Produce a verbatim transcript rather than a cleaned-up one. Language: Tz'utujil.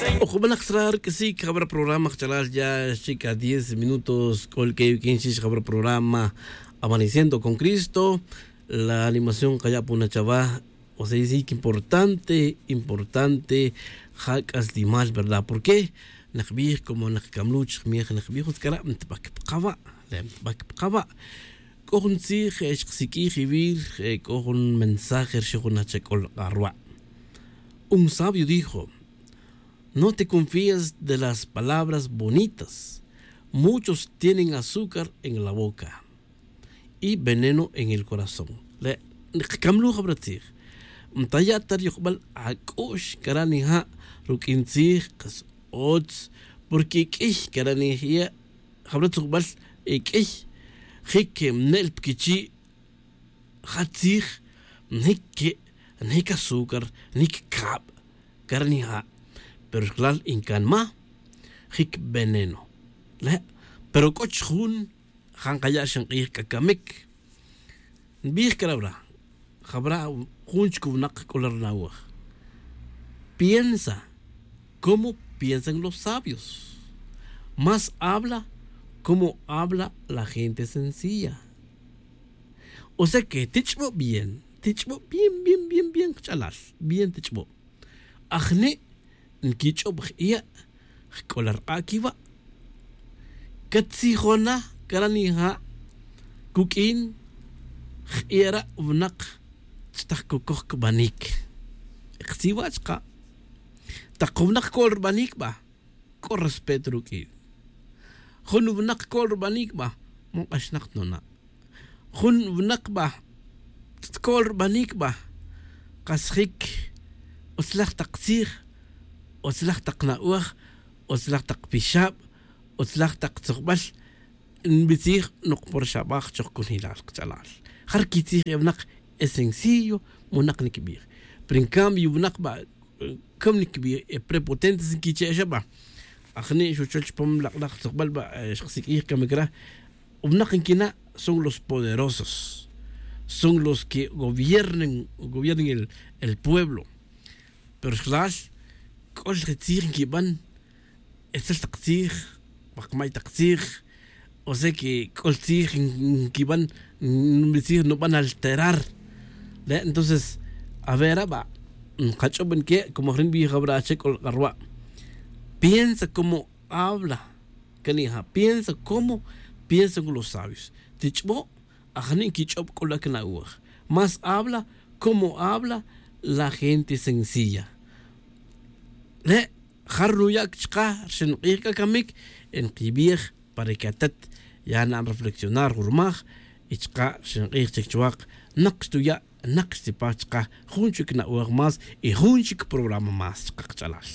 Ojob'anak sra' rk'isiik jab'ra' programa qachalal ya xchik a diez minutos k'ol k'e yukin xix jab'ra' programa. Amaneciendo con cristo. La animación qaya'puna chawa. O sea sí que importante importante. Ja k'aslimal verdad por qué? Naqb'ij como naqkamluch jmij naqb'ij utz k'ara' mtb'ak pqawa'. Le' mtb'ak pqawa'. K'o jun tzij xqsik'ij iwir. K'o jun mensaje rxijunaj chak'ol q'arwa'. Un sabio dijo: no te confíes de las palabras bonitas. Muchos tienen azúcar en la boca y veneno en el corazón. Le' nqkamluj jab'ra' tzij. Mtaya' ta riyojb'al ak'u'x kara' nija' ruk'in tzij qas otz. Porque k'iy kara' nijya' jab'ra' tzujb'al k'iy jik mne'l pkichi'. Ja tzij njik ke' njik azúcar njik kab'. Kara' nija' pero xlal nkanma jik veneno. Le' pero k'o chjun ja nkaya' xinq'ij k'a kamik. Nbij kara' wra' jab'ra' jun chik winaq k'ola rna'oj. Piensa como piensan los sabios. Más habla como habla la gente sencilla. O sea que tich'bo' bien tich'bo' bien bien bien bien jch'alal. Bien tich'bo'. Ajni' nkich'ob j'iya' jk'ola rq'a' kiwa'. Katzijona kara' nija' kuk'in j'iya' ra' winaq chtaj kokoj kb'anik. Qtziwa' chqa' taq jun winaq ko'l rb'anik b'a k'o respeto ruk'in. Jun winaq ko'l rb'anik b'a man q'axnaq tnona'. Jun winaq b'a tko'l rb'anik b'a qas jik utzlaj taq tzij, utzlaj taq na'oj, utzlaj taq pixab', utzlaj taq tzojb'al. Nb'itzij noq por xab'aj choj kunjilal qch'alal. Jar kitzij e winaq es sencillo. Winaq nikb'ij pero en cambio winaq b'a' cam nikb'ij e prepotentes nkiche' xa b'a'. Ajni' xuchol chpam laq'laq tzojb'al b'a' xqsik'ij kamik ra'. Winaq nkina' son los poderosos. Son los que gobiernen gobiernen el pueblo. Pero xlal k'ol je tzij nkib'an etzel taq tzij. Wak may taq tzij. O sea que k'ol tzij nkib'an nb'itzij nub'an alterar. Le' entonces a ver a b'a' nqach'ob' nke' como jri' nb'ij jab'ra' che k'ol q'arwa'. Piensa como habla. Kanija' piensa como piensa con los sabios. Tich'bo' ajni' nkich'ob k'ul akina'oj. Más habla como habla la gente sencilla. Le' jar nuya' chka' rxin q'ij k'a kamik. Nkib'ij para que atat ya na'n reflexionar jun rmaj. Y chka' rxin q'ij chik chwaq naq xtuya' naq xtipaj chka' jun chik na'oj más y jun chik programa más chka' qch'alal.